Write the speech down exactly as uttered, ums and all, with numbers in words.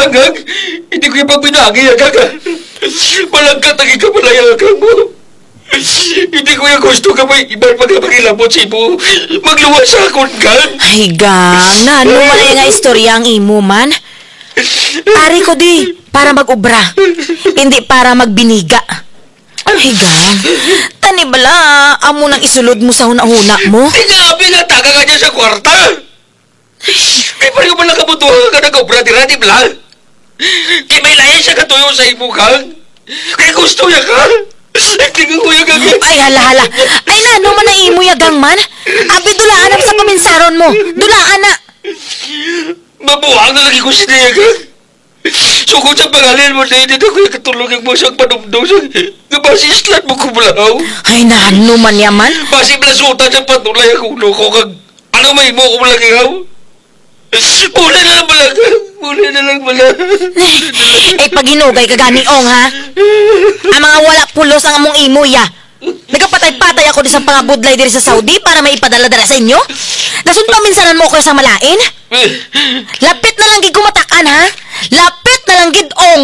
Agang, hindi ko ya pagbinangi, Agang, ha. Malangkat ang ikabalay, Agang, mo. Hindi ko ya gusto nga may iba pa nga mangilabot sa imo. Magluwas sa akon, Gang. Ay, Gang, nano man aya nga istorya ang imo man? Ari ko di para mag-obra, indi para magbiniga. Ay, Gang, tani bala, amo nang isulod mo sa hunahuna mo? Ti nga abi nga taga ka dya sa kwarta. Kay pareho man lang kamo duha nga nag-obra dira, di bala? Kay may lain siya katuyo sa imo, Gang. Kay gusto niya ka. Hindi ko kuya, Gang. Ay, hala, hala. Ay, nano man ang imo ya, Gang, man? Abi, dulaan na sa paminsaron mo. Dulaan na. Mabuang na lagi ko siya, Gang. Sugod sa pangalan mo, Day, di na ko ya katulog ang mo siyang panumdum sa nga basi islan mo ko balahaw. Ay, nano man ya man? Basi balasutan sa patulay ang ulo ko, kag ano may mo ko balahaw? Muli na lang bala, Gang. Muli na lang bala. Ay, paghinugay ka gani, Ong, ha? Ang mga wala pulos ang among imo, ya. Nagapatay-patay ako di sa pangabudlay diri sa Saudi para may ipadala dira sa inyo? Dason paminsaran mo ako sa malain? Lapit na lang gid ko matak-an, ha? Lapit na lang gid, Ong.